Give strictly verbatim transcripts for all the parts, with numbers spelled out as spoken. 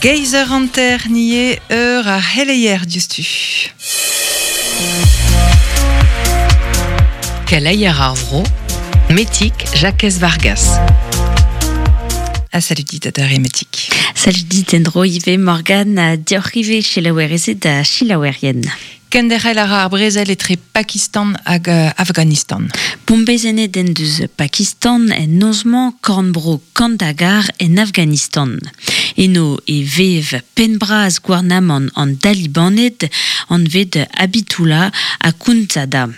Geizer anter nie eur a heleier diouzhtu. Keleier ar vro, Metik Jacques Vargas. A salut dit adare Metik. Salut dit endro ive Morgan a dioc'h ive selaouerezed da selaouerien. Kenderc'hel a ra ar brezel etre Pakistan hag Afghanistan. Bombezennet en deus Pakistan en nozmañ korn-bro Kandahar en Afghanistan. Eno e vev penn-bras gouarnamant an Dalibaned anvet Habitullah Akhundzada.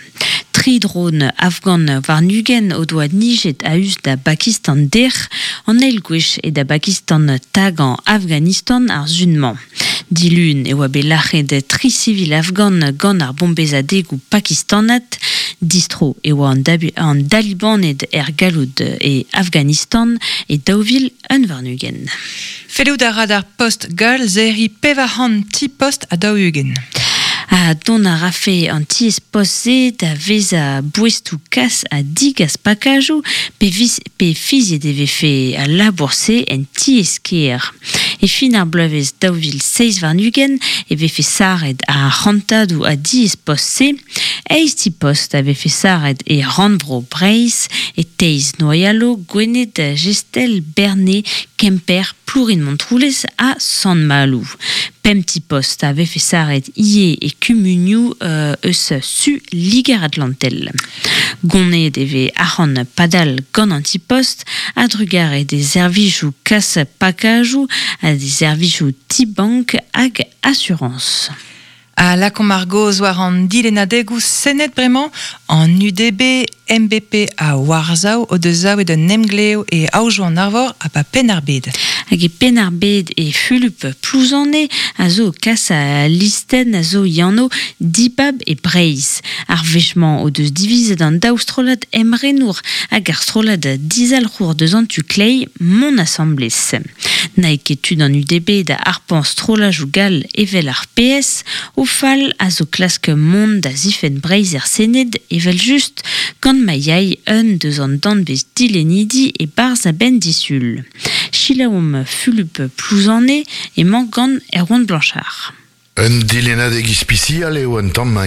Tri dron afghan warn-ugent o doa nijet a-us da Bakistan dec'h, an eil gwech e da Bakistan tagañ Afghanistan ar sun-mañ. Dilun e oa bet lac'het tri sivil afghan gant ar bombezadegoù pakistanat, distro e oa an, an Dalibaned er galloud e Afghanistan e daou vil un warn-ugent. Fellout a ra d'ar post gall serriñ pevar c'hant ti post ha daou-ugent. A dont a rafe an tiez post-se da vezañ boestoù kas ha digas pakajoù pe, vis, pe fiziet e vefe al labour-se en tiez-kêr. E fin ar bloavezh daou vil seizh warn-ugent e vefe saret ar c'hantadoù a diez post-se, eizh ti post a vefe saret e rannvro Breizh, e Teiz Noyalo, Gwened, Gestel, Berne, Kemper, Plourin-Montroulez ha Sant-Maloù. Pemp ti post a vefe saret ivez e kumunioù euh, eus su Liger-Atlantel. Gonnet e vez arc'hant padal gant an ti post a drugare des servijoù kas pakajoù ha des servijoù ti-bank hag assurance. A lakaomp ar gaoz war an dilennadegoù Sened bremañ, an U D B, M B P ha Warsaw o deus savet un emglev e Aojoù an Arvor ha pa Penn-ar-Bed. Hag e Penn-ar-Bed e Fulup Plouzane a zo kas a listen a zo Yanno Dibab e Breizh. Ar wech-mañ o deus divizet an daou strollad emrenour hag ar strollad dizalc'hour deus an tu kleiz mont asambles. Nae ket tud an U D B da arpañ strollajoù gall evel ar P S, o fal a zo klask mont da zifenn Breizh er Sened evel just gant ma yai un deus an danvez dilennidi e barzh a-benn disul. Selaomp Fulup Plouzane emañ gant Erwan Blanchard. Un dilennadeg ispisial eo un tamm